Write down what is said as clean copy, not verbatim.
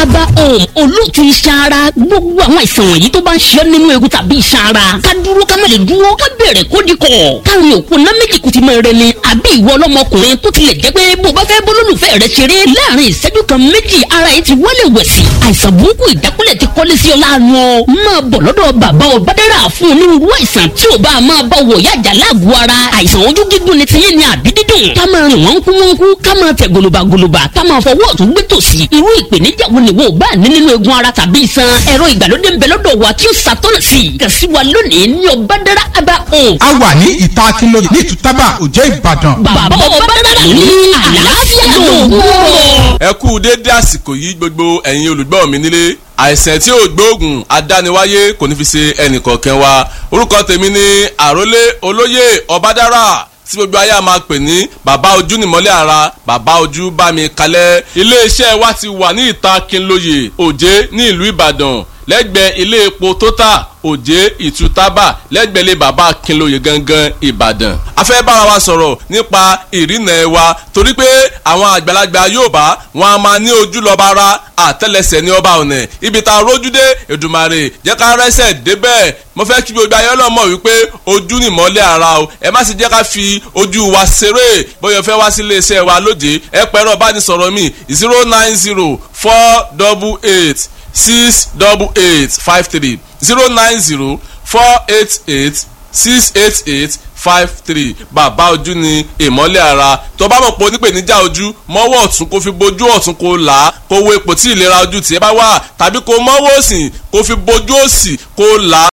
Aba Home olóòtú iṣan ara. Gbogbo àwọn àìsàn wọ̀nyí tó bá ń ṣe nínú egun tàbí iṣan ara, ká dúró ká má lè dúró, ká bẹ̀rẹ̀ kó di kọ̀, káàrin òkú ná méjì kùtì mọ́ rẹ ni. Àbí ìwọ ọlọ́mọkùnrin tó tilẹ̀ jẹ́ pé bó bá fẹ́ bólólùfẹ́ rẹ ṣeré láàrin ìṣẹ́jú kan méjì, ara yìí ti wọlé wẹ̀sì. Àìsàn burúkú ìjákulẹ̀ ti kọ́lé sí ọ láàánú ọ. Máa bọ̀ lọ́dọ̀ bàbá Ọbádára fún onírúurú àìsàn tí ò bá máa bá wọ̀ yájà láàgọ̀ ara. Àìsàn ojú gígùn ni tiyín ni àbí dídùn, ká máa rìn wọ́n kú wọ́n kú, ká máa tẹ̀ gòlòbàgòlòbà, ká máa fọwọ́ ọ̀tún gbé tòsì. Irú ìpèníjà wo ni wo bá ní nínú egun ara tàbí iṣan? Ẹ̀rọ ìgbàlódé ń bẹ lọ́dọ̀ wa tí ó ṣàtọ́nà sí i. Kàn sí wa lónìí ní Ọbádára Aba Home. A wà ní ìta Akínlóye ní Ìtútàbà, Òjé, Ìbàdàn. Bàbá Ọbádára ní àlàáfíà lòun. Ẹ kú déédé àsìkò yìí, gbogbo ẹ̀yin olùgbọ́ mi nílé. Àìsàn tí ò gbóògùn adániwáyé kò ní fi ṣe ẹnìkọ̀ọ̀kan wa. Orúkọ tèmi ni Àrólé Olóyè Ọbádára, tí gbogbo ayé a máa pè ní Bàbá Ojú Nìmọ́lẹ̀ Ara, Bàbá Ojú Bá Mi Kalẹ̀. Iléeṣẹ́ wa ti wà ní ìta Kínlóye, Òjé, ní ìlú Ìbàdàn, lẹ́gbẹ̀ẹ́ ilé epo Total, Òjé Ìtútàbà, lẹ́gbẹ̀ẹ́ ilé bàbá Kínlóye gangan, Ìbàdàn. A fẹ́ bára wa sọ̀rọ̀ nípa ìrìnà ẹ̀ wa, torí pé àwọn àgbàlagbà Yorùbá wọn a máa ní ojú lọ́ba ara, àtẹ́lẹsẹ̀ ní ọba ọ̀nà. Ibi tá a rójú dé, Èdùmàrè jẹ́ ká rẹ́sẹ̀ débẹ̀. Mo fẹ́ kí gbogbo ayé ọlọ́mọ wípé ojú ni ìmọ́lẹ̀ ara o. Ẹ má sì jẹ́ ká fi ojú wa ṣeré. Bóyá o fẹ́ wá sí iléeṣẹ́ wa lóde, ẹ pẹ̀rọ bánisọ̀rọ̀ mi: 09048868853, 09048868853. Bàbá Ojú ni ìmọ́lẹ̀ ara. Tó bá mọ̀ pé onípèníjà ojú, mọ́wọ́ ọ̀tún kó fi bojú ọ̀tún, kó là á, kó wo ipò tí ìlera ojú tiẹ̀ bá wà, tàbí kó mọ́wọ́ òsì kó fi bojú òsì, kó là á.